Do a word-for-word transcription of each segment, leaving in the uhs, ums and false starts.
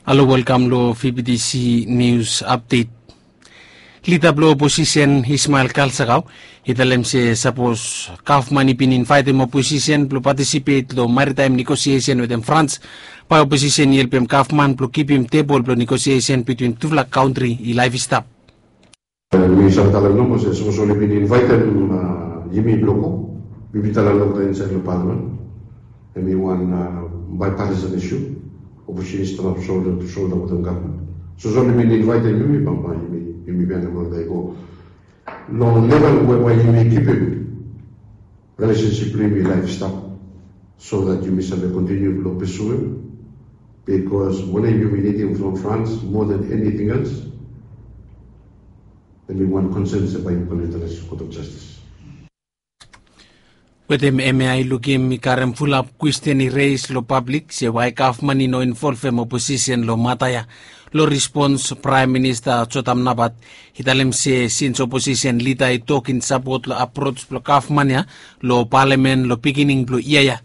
Halo, welkam long V B T C News Update. Lida blong oposisen Ismael Kalsakau i talem se sapos gavman i bin invaetem oposisen blong patisipet long maritaem negosiesen wetem Frans, bae oposisen i helpem gavman blong kipim tebol blong negosiesen bitwin tufala kantri i laef i stap. Mi save talem nomo se sapos oli bin invaetem yumi blong go, mi bin talem longtaem insaed long palamen, hemi wan bipartisan isu. Oposisen i stanap solda tu solda wetem gavman. Sapos oli bin invaetem yumi, bambae yumi, yumi bin wantem oli go long level we bae yumi kipim relesensip blong yumi i laef i stap, so that yumi save kontiniu blong pesuem. Bikos mane yumi nidim from Frans moa than eniting els. Hemi wan konsen se bae yumi go long International Court of Justice. Wetem hemia i lukim i karem fulap kwestin i reis long pablik se wae gavman i no involvem oposisen long mata ya. Long respons, Praem Minista Jotam Nabat i talem se sins oposisen lida i tok in sapot long aprots blong gavman ya long palamen long pikinini blong yia ya,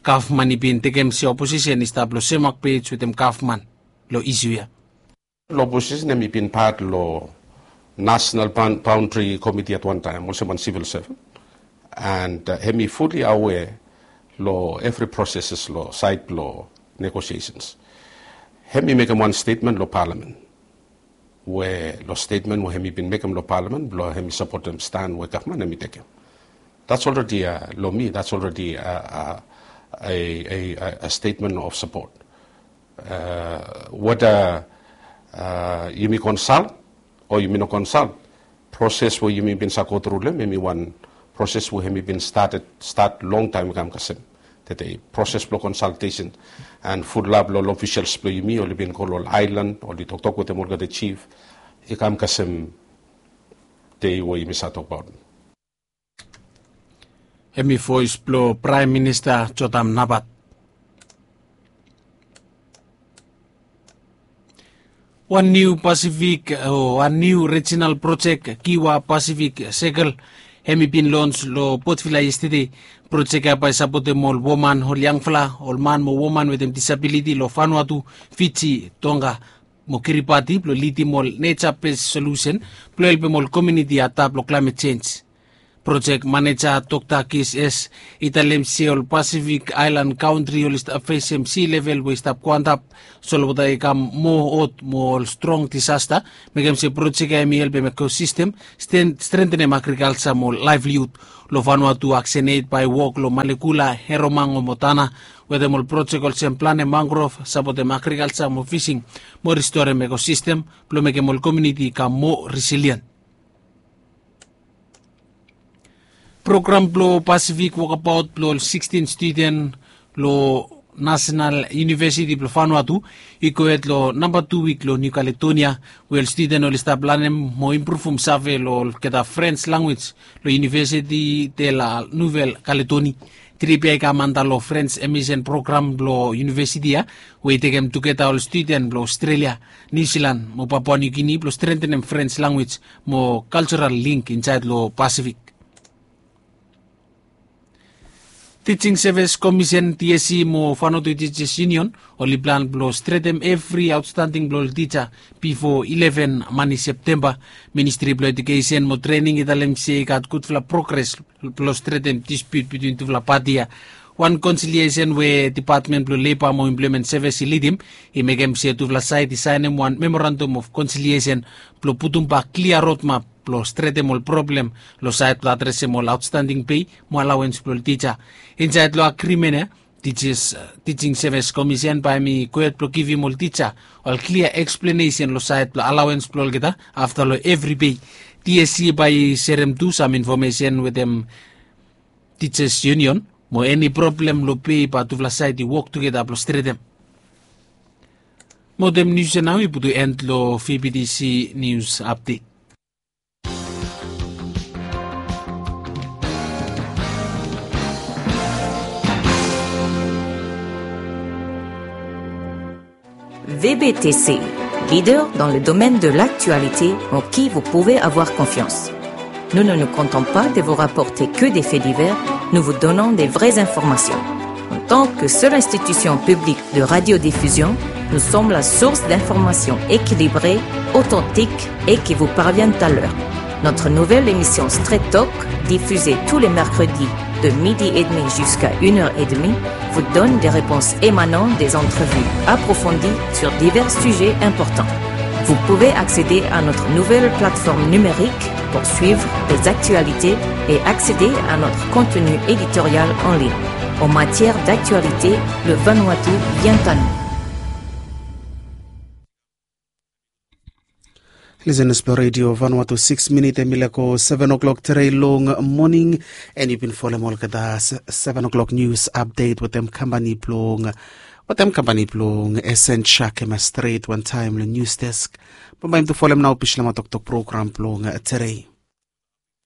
gavman i bin tekem se oposisen i stap long sem mak pej wetem gavman long isu ya. Long oposisen hemi bin pat long National Boundary Committee at wan taem olsem wan sivil sevan, and hemi fuli awea long evri proseses long saed blong negosiesens. Hemi mekem wan stetmen long palamen, we long stetmen we hemi bin mekem long palamen blong hemi sapotem stan we gavman hemi tekem, that's already long mi, that's already a stetmen of sapot. Weda yumi konsalt o yumi no konsalt, proses we yumi bin save gotru long hem hemi wan proses we hemi bin stat longtaem i kam kasem. Tede proses blong konsaltesen and fulap long ol ofisels blong yumi oli bin go long ol aelan, oli toktok wetem olgeta jif, i kam kasem dei we yumi save tokbaot. Hemi voes blong Praem Minista Jotam Nabat. Wan niu Pasifik o wan niu rijinal projek, Kiwa Pasifik Sekel, hemi bin lons long Potvila yestede. Projek ya bae sapotem ol woman, ol yangfala, ol man mo woman wetem disabiliti long Vanuatu, Fiji, Tonga mo Kiribati blong lidim ol neja bes solusen blong helpem ol komuniti i adap long klaemet jenj. Projek maneja Dokta Kis S i talem se ol Pasifik aelan kantri oli stap fesem si level we i stap go antap, solwota i kam moa hot mo ol strong disasta, mekem se projek ya hemi helpem ekosistem, strentenem agrikalja mo laevlihud. Long Vanuatu, Aksenet bae wok long Malekula, Heromango mo Tana wetem ol projek olsem planem mangrov, sapotem agrikalja mo fising mo ristorem ekosistem blong mekem ol komuniti i kam moa risilien. Program blong Pasifik wokabaot blong ol sikstin studen long Nasenal Yunivesiti blong Vanuatu i gohed long namba tu wik long Niu Kaledonia, we ol studen oli stap lanem mo impruvum save long olgeta Frens lanwis long Yunivesiti de la Nuvel Kaledoni. Trip ya i kam anda long Frens Emisen program blong yunivesiti ya, we i tekem tugeta ol studen blong Ostrelia, Niu Silan mo Papua Niu Gini blong strentenem Frens lanwis mo kaljeral link insaed long Pasifik. Tijing Sevis Komisen, TSC, mo Vanuatu Tijas Yunion oli plan blong stretem evri aotstanding blong ol tija bifo ileven mani Septemba. Ministri blong Ejukesen mo Trening i talem se i gat gudfala progres blong stretem dispiut bitwin tufala pati ya. Wan konsiliesen we Depatmen blong Leba mo Emploemen Sevis i lidim i mekem se tufala saed i saenem wan memorandam of konsiliesen blong putumbak klia rodmap blong stretem ol problem long saed blong adresem ol aotstanding pei mo alawens blong ol tija. Insaed long agrimen ya, Tijas, Tijing Sevis Komisen bae hemi gohed blong givim ol tija ol klia eksplenesen long saed blong alawens blong olgeta afta long evri pei. TSC bae i serem tu sam infomesen wetem Tijas Yunion mo eni problem long pei bae tufala saed i wok tugeta blong stretem. Mo wetem nius ya nao i putum en long VBTC Nius Apdet. VBTC, leader dans le domaine de l'actualité en qui vous pouvez avoir confiance. Nous ne nous contentons pas de vous rapporter que des faits divers, nous vous donnons des vraies informations. En tant que seule institution publique de radiodiffusion, Nous sommes la source d'informations équilibrées, authentiques et qui vous parviennent à l'heure. Notre nouvelle émission Straight Talk, diffusée tous les mercredis de midi et demi jusqu'à une heure et demie, vous donne des réponses émanant des entrevues approfondies sur divers sujets importants. Vous pouvez accéder à notre nouvelle plateforme numérique pour suivre les actualités et accéder à notre contenu éditorial en ligne. En matière d'actualité, le Vanuatu vient à nous. Lisenas blong redio Vanuatu, sikis minit em i laek go seven o'clock tere long moning. And yu bin folem olgeta seven o'clock news update wetem kampani blong wetem kampani blong Esentia kema stret wantaem long news desk. Bambae yumi tu folem nao Bislama toktok program blong tere.